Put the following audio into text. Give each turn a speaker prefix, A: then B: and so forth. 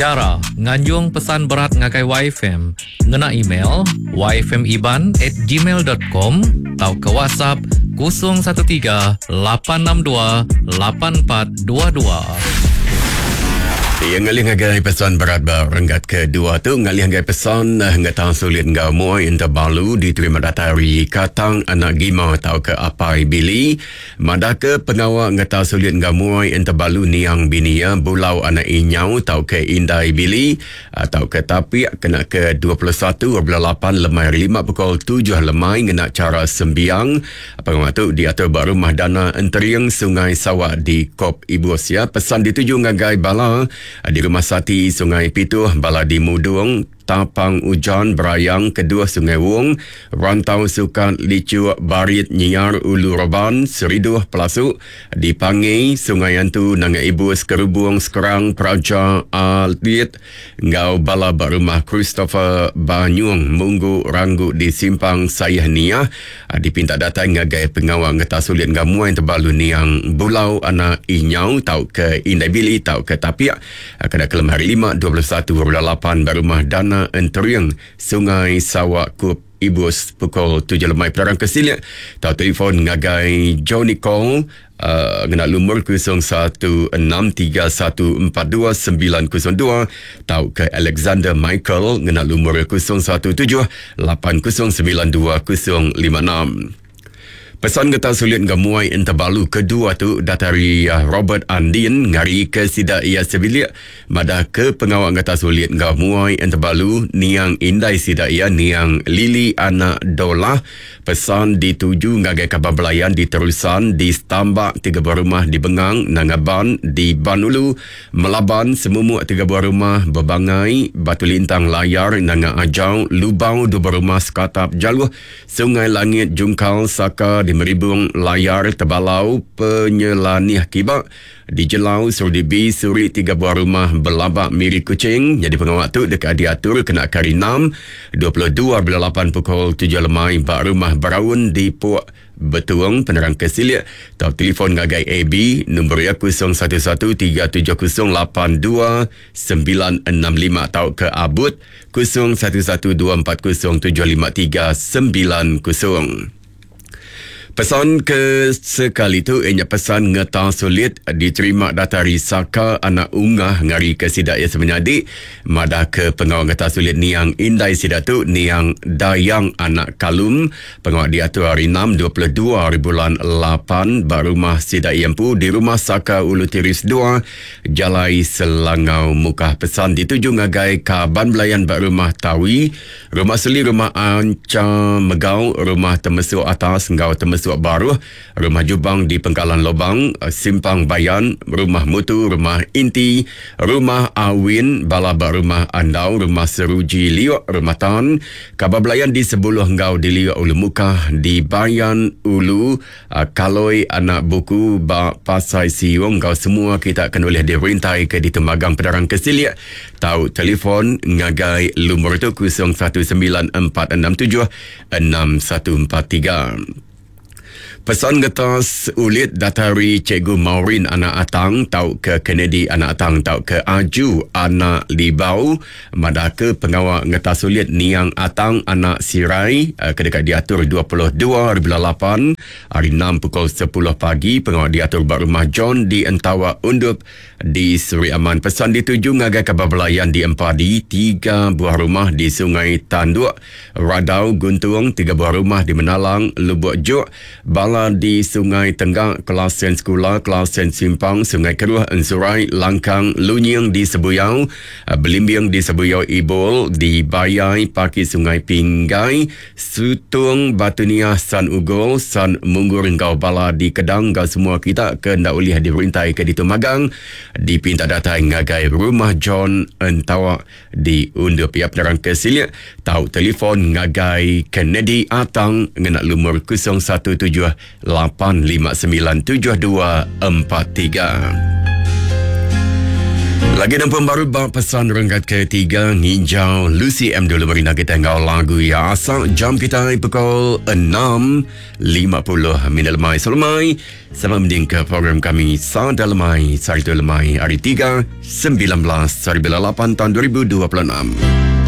A: Chara nganjung pesan berat ngagai YFM ngena email yfmiban at gmail dot com tauka WhatsApp 013 862 8422.
B: Iya ngalih ngagai pesan berat ba renggat kedua tu ngalih ngagai pesan eh, ngetang sulit enggau muai entabalu diterima datai ari Katang Anak Gima tauka Apai Billy Madahka pengawa ngetal sulit enggau muai entebalu niang bini iya Bulau anak Inyau tauka Indai Billy tauka Tapik kena ke 21 bulan lapan lemai hari lima pukul tujuh lemai ngena chara sembiang. Pengawa tu diatur ba Rumah Dana Entering Sungai Sawa di Kop Ibus. Ya, pesan dituju ngagai bala di Rumah Sati Sungai Pituh, bala di Mudung, Tapang Ujan, Berayang, Keduh Sungai Wong, Rantau Sukat, Lichuk, Barit, Nyiar, Ulu Roban, Seriduh, Pelasuk, Dipangi, Sungai Antu, Nanga Ibus, Kerubung, Skrang, Praja, Alit enggau bala ba Rumah Christopher Banyung, Munggu, Ranggu di Simpang Sayeh Niah dipinta datai ngagai pengawa ngetas ulit enggau muai tebalu niang Bulau anak Inyau tauka Indai Billy tauka Tapik. Kena kelem hari Lima, 21 bulan lapan ba Rumah Dana Entering, Sungai Sawa Kup, Ibus pukul tujuh lemai penerang ke silik tau telefon ngagai Johnny Kong uh, ngena lumur 0163142902 tauka Alexander Michael ngena lumur 0178092056. Pesan ngetal sulit enggau muai entebalu kedua tu datai ari Robert Andin ngarika sida iya sebilik madahka pengawa ngetal sulit enggau muai entebalu niang indai sida iya niang Lily anak Dolah. Pesan dituju ngagai kaban belayan di Terusan, di Stambak, tiga buah rumah di Bengang, Nanga Ban, di Ban Ulu, Melaban, Semumuk tiga buah rumah, Bebangai, Batu Lintang, Layar, Nanga Ajau, Lubau dua buah rumah, Sekatap, Jaluh, Sungai Langit, Jungkal, Saka, di Meribung, Layar, Tebalau, Penyelanih Kiba, di Jelau, Serdibi, Suri, tiga buah rumah, Belabak, Miri, Kuching. Nyadi pengawa tu deka diatur kena ke Hari Enam, 22 bulan lapan pukul tujuh lemai ba Rumah Beraun di Pok Betuong. Penerang ke silik tau telefon ngagai AB, nombor iya 011 370 82965 tauka Abut 0112407539. Pesan ke sekali tu iya nya pesan ngeta sulit diterima datai ari Saka anak Ungah ngarika sida iya semenyadi madahka pengawa ngeta sulit niang indai sida tu niang Dayang anak Kalum. Pengawa diatur hari Enam 22 hari bulan lapan ba rumah sida iya empu di Rumah Saka Ulu Tiris dua Jalai Selangau Mukah. Pesan dituju ngagai kaban belayan ba Rumah Tawi, Rumah Seli, Rumah Ancha Megau, Rumah Temesuk Atas enggau Temesuk Baruh, Rumah Jubang di Pengkalan Lobang, Simpang Bayan, Rumah Mutu, Rumah Inti, Rumah Awin, bala ba Rumah Andau, Rumah Seruji Liuk, Rumah Tan, kaban belayan di Sebuluh enggau di Liuk Ulu Mukah, di Bayan Ulu, Kaloi anak buku ba Pasai Siung enggau semua kita ke nulih dirintai ke ditemagang penerang ke silik tau telefon ngagai lumur tu 0194676143. Pesan ngetas ulit datai ari Cikgu Maureen anak Atang tauka Kennedy anak Atang tauka Aju anak Libau Madahka pengawa ngetas ulit niang Atang anak Sirai ke deka diatur 22 hari bulan lapan ari enam pukul sepuluh pagi. Pengawa diatur ba Rumah John di Entawa Undup di Sri Aman. Pesan dituju ngagai kaban belayan di Empadi, tiga buah rumah di Sungai Tanduk, Radau, Guntung, tiga buah rumah di Menalang, Lubuk Juk, Bala di Sungai Tenggak, Kelasen Sekula, Kelasen Simpang, Sungai Keruh, Ensurai, Langkang, Lunying di Sebuyau, Belimbing di Sebuyau Ibol, di Bayai, Paki Sungai Pinggai, Sutung, Batu Niah, San Ugol, San Munggur enggau bala di Kedang enggau semua kita ke enda ulih dirintai ke ditu magang dipinta datai ngagai Rumah John Entawa Di undup iya penerang ke silik tau telefon ngagai Kennedy Atang ngena lumur 0178597243. Lagi nampung baru ba pesan renggat ketiga nginjau Lucy M dulu merina kita enggau lagu ya asal jam kita pukul 6.50 minit lemai selemai sama mending ke program kami Sada Lemai Sehari tu lemai hari 3 19 hari 8 tahun 2026.